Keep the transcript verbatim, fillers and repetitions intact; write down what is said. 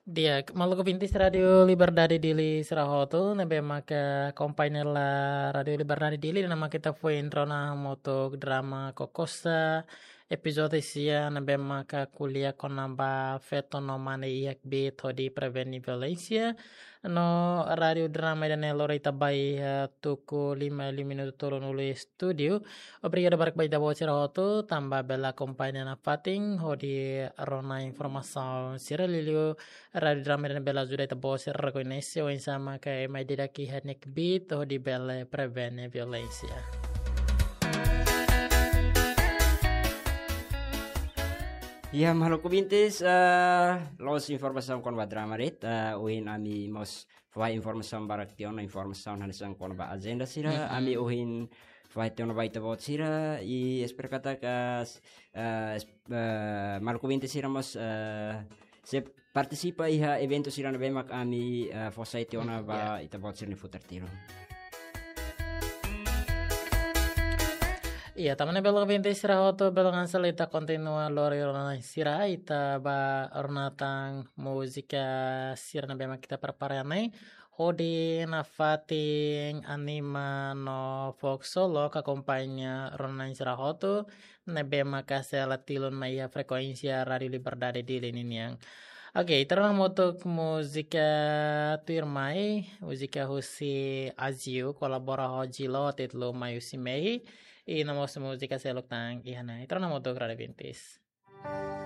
Di'ak, maluk ouvintes Rádio Liberdade Dili sira hotu, ne'ebé maka akompaña hela Rádio Liberdade Dili, ne'e maka ita foin rona hamutuk drama Kokosa, epizódiu sia, ne'ebé maka ko'alia kona-ba feto no mane iha kbiit hodi prevene violénsia. No rádio drama ida-ne'e lori ita ba iha tuku lima liu minutu tolunulu iha estúdiu. Obrigadu barak ba ita-boot sira hotu, tanba bele akompaña nafatin hodi rona informasaun sira. Liuliu rádio drama ida-ne'e bele ajuda ita-boot sira rekoñese oinsá maka ema ida-idak iha nia kbiit hodi bele prevene violénsia. Ya, maluk ouvintes, eh, loos informasaun kona-ba drama de'it, eh, ohin ami mós fahe informasaun barak tiha ona, informasaun hanesan kona-ba ajenda sira, Mm-mm. ami ohin fahe tiha ona ba ita-boot sira, i espera katak, eh, es-, eh, maluk ouvintes sira mós, eh, sei partisipa iha eventu sira ne'ebé mak ami, eh, fó sai tiha ona ba Ya. ita-boot sira-nia futar tiru. Iya, tanba ne'e maluk ouvintes sira hotu, bele hanesan ne'e ita kontinua lori rona sira, ita ba rona tan múzika sira ne'ebé mak ita prepara ne'e. Hodi nafatin anima no fokus solo ka akompaña rona sira hotu, ne'ebé maka sei la tilun mai iha frekuénsia Rádio Liberdade Dili ninian. Oke, ita rona hamutuk múzika tuirmai, múzika husi Aziu, kolabora ho Jilo, títulu Mai Husi Mehi, i no mós múzika seluk tan iha ne'e. Ita rona hamutuk, rádio ouvintes.